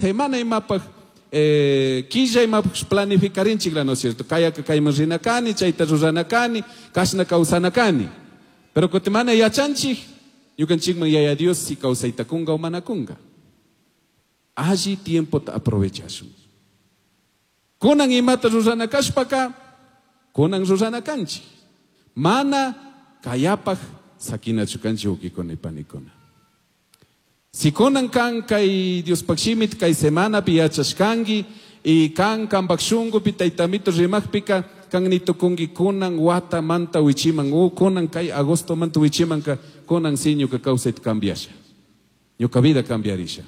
Semana imapaj, quilla imapaj planificarinchikla, ¿no es cierto? Kayaka kayman rina kani, chayta rurana kani, kashna kawsana kani. Pero kutin mana yachanchik, ñukanchikman Yaya Dios si kawsayta kunga o mana kunga. Alli tiempota aprovechashun. Kunan imata rurana kashpaka, kunan rurana kanchik. Mana kayapaj sakinachu kanchik wawkikuna y panikuna. Si kunan kan kay Diospaj shimita kay semanapi yachashkanki y kan kanpaj shunkupi Taytamito rimajpika kan nitukunki kunan watamanta wichiman o kunan kay agostomanta wichimanka kunan si ñuka kawsayta cambiasha. Ñuka vida cambiarisha.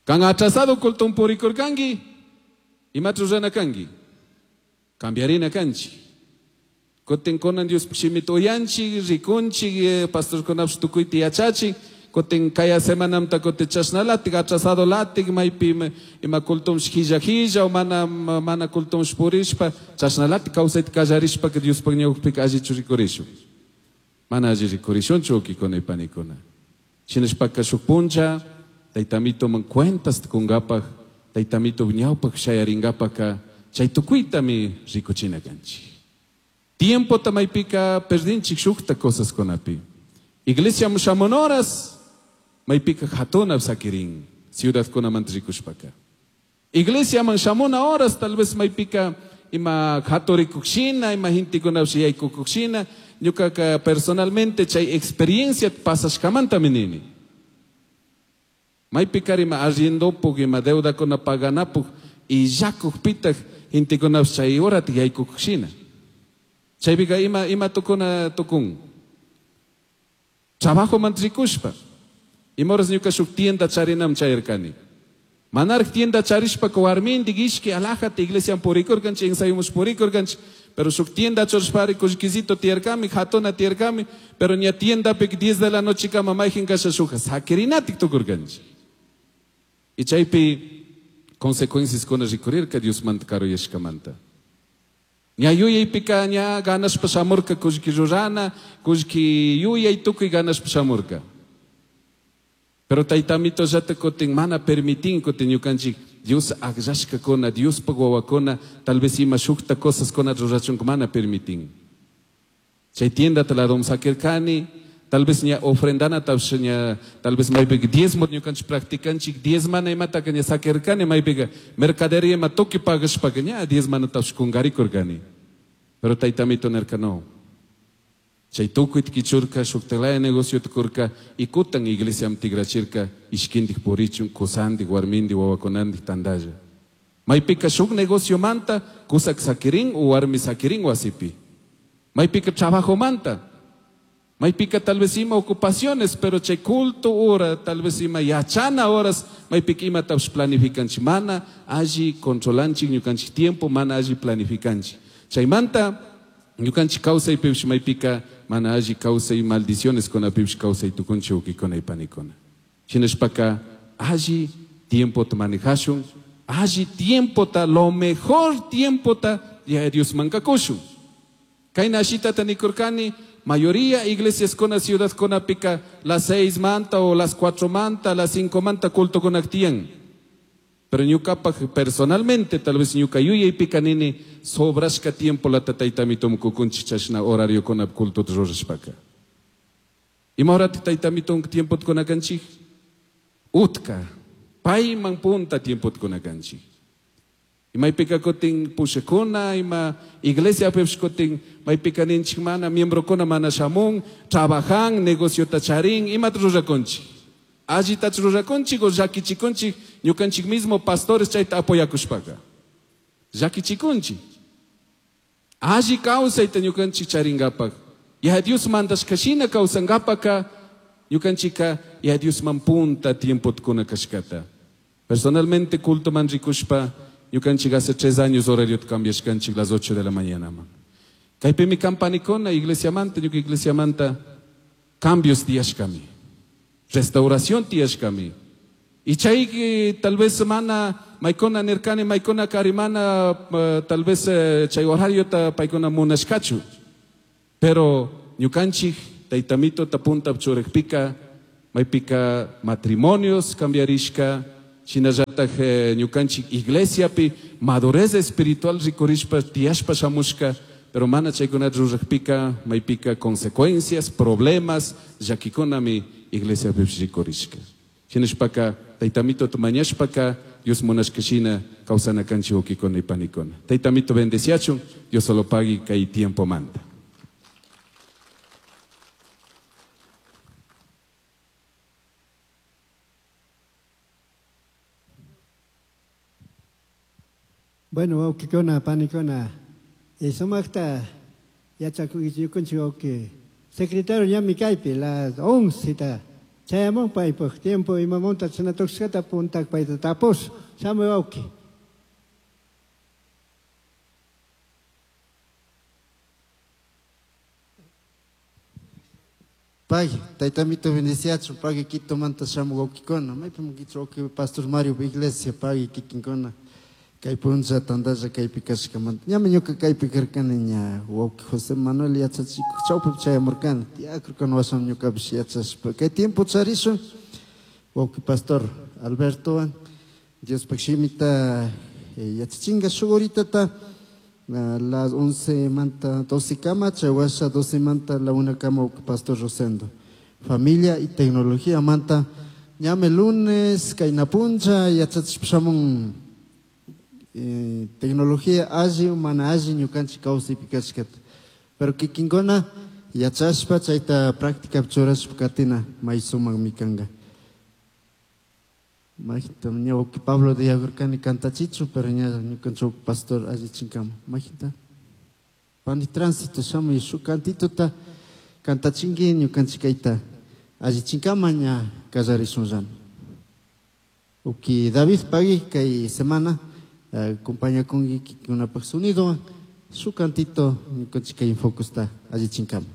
Kan atrasado culton purikurkanki, imata rurana kanki? Cambiarina kanchik. Kutin kunan Diospaj shimita uyanchik, rikunchik, pastorkunapish tukuyta yachachin. Kutin kaya semanamta kutin chashnalatik, atrasado latik, maypi ima cultumsh hilla hilla o mana, mana cultumsh purishpa, chashnalatik kawsayta kallarishpaka Diospaj ñawpika allichu rikurishun. Mana alli rikurishunchu wawkikuna y panikuna. Shinashpaka shuk puncha, Taytamitoman cuentas kungapaj, Taytamito ñawpaj shayaringapaka, chay tukuytami rikuchina kanchik. Tiempota maypika perdinchik shukta cosaskunapi. Iglesia shamun horas, maypika hatuna sakirin, ciudadkunamanta rikushpaka. Iglesiaman shamuna horas, tal vez maypika ima haturikushina, ima gentekunapish yaykukushina, ñukaka personalmente chay experiencia pasashkamantami nini. Maypika ima arriendopuk, ima deudakuna paganapuk, y llakukpitak gentekunapish chay horata yaykukushina. Chaypika ima, ima tukuna tukun. Trabajo rikushpa. Ima horas ñuka shuk tienda charinam chayarkani. Manaraj tienda charishpaka warmindik ishki alajata iglesian purikurkanchik, ensayumus purikurkanchik, pero shuk tienda churashpari kullkisito tiyarkami, hatuna tiyarkami, pero ña tiendapik 10 de la noche kama mayjin kasha shuja sakirinatik tukurkanchik. Y chaypi consecuencias kuna rikurirka Diosmanta karuyashkamanta. Ña yuyaypika ña ganashpa shamurka kullki rurana, kullki yuyay tukuy ganashpa shamurka. Pero Taytamito llata kutin mana permitin kutin ñukanchik Dios akllashkakuna, Diospaj wawakuna, tal vez ima shukta cosas kuna rurachunka mana permitin. Chay tiendata ladom sakirkani, tal vez ña ofrendanatapish ña, tal vez maypika diezmo ñukanchik practicanchik, diezmana imataka ña sakirkani, maypika mercadería ima tukuy pagashpaka ña diezmanatapish kungarikurkani. Pero Taytamito nirka no. Chay tukuyta kichurka, shuktalaya negociota kurka, y kutan iglesiam tigrachirka, ishkindik purichun, kusandik, warmindik, wawakunandik tandalla. Maypika shuk negociomanta, kusak sakirin o warmi sakirin wasipi. Maypika trabajomanta. Maypika tal vez ima ocupaciones, pero chay culto hora, tal vez ima yachana horas, maypika imatapish planificanchik, mana alli controlanchik ñukanchik tiempo, mana alli planificanchik. Chaymanta ñukanchik kawsaypipish maypika mana alli kawsay maldiciones kunapipish kawsay tukunchik wawkikuna y panikuna. Shinashpaka alli tiempota manejashun, alli tiempota, lo mejor tiempota ya Diosmanka kushun. Kayna ashitata nikurkani, mayoría iglesias kuna ciudad kunapika las 6 manta o las 4 manta, las 5 manta culto kunaktiyan. Pero ñukapaj personalmente, tal vez ñuka yuyaypika nini, sobrashka tiempo la taytamitom kukunchik chashna horario kunap culto rurashpaka. Ima horata taytamitom tiempo kunakanchik? Utka, payman punta tiempo kunakanchik. Maypika kutin pushakuna, ima iglesia pipish kutin maypika ninchik mana miembrokuna mana shamun, trabajan, negociota charin, imata rurakunchik. Allitachu rurakunchik o llakichikunchik, ñukanchik mismo pastores chayta apoyakushpaka. Llakichikunchik. Alli kawsayta ñukanchik charingapak. Ya Dios mandashkashina kawsangapaka, ñukanchika ya Diosman punta tiempota kuna kashkata. Personalmente culto man rikushpa, ñukanchik hace 3 años horario cambiashkanchik las 8 de la mañana. Kaypimi campanikuna, iglesiamanta, ñuka iglesiamanta, cambios tiyashkami. Restauración tiyashkami. Y chay tal vez mana maykuna nirkani, maykuna karimana, tal vez chay horario ta paykuna munashkachu. Pero ñukanchik taytamito ta punta churikpika, maypika matrimonios cambiarishka, Shinallataj ñukanchik iglesiapi madurez espiritual rikurishpa tiyashpa shamushka, pero mana chaykunata rurajpika maypika consecuencias, problemas, llakikunami iglesiapipish rikurishka. Shinashpaka Taytamituta mañashpaka Dios munashka shina kawsana kanchik wawkikuna y panikuna. Taytamito bendeciachun, Dios solo pagui kay tiempomanta. Bueno, wawkikuna, panikuna, sumaqta yachakunchik wawki. Secretario ñami kaypi, las 11 ta chayamun paypaq tiempo imamunta chashna puntak payta tapus, shamuy wawki. Pagui, taytamito bendeciachun, pagui Quitomanta shamuq wawkikuna, maypimi kichwa wawki Pastor Mario iglesia, pagui kikinkuna, kay punlla tantalla kaypi kashkamanta. Ñami ñuka kaypi karkani ña wawki José Manuel yachachikuq chawpipi chayamurkani, tiyakurkani washan ñukapish yachashpa. Kay tiempo charishun, wawki Pastor Albertowan, Diospaq shimita yachachinga shuk horitata, las 11 manta 12 kama, chay washa 12 manta la 1 kama wawki Pastor Rosendo. Familia y tecnología manta, ñame lunes, kayna punlla, yachachishpa shamun, tecnología alli o mana alli ñukanchik kawsaypi kashkata. Pero kikinkuna yachashpa chayta práctica churashpa katina may sumakmi kanka. Majita ña wawki Pablo de Yagurkani kantachichu, pero ña ñukanchik wawki pastor allichinkama. Majita pani tránsito shamuy shuk kantituta kantachinki ñukanchik kayta allichinkama ña kallarishunllami. Wawki David pagui kay semana acompaña con kikikunapaq sonidowan shuk kantito ñukanchik kay Infocusta allichinkama.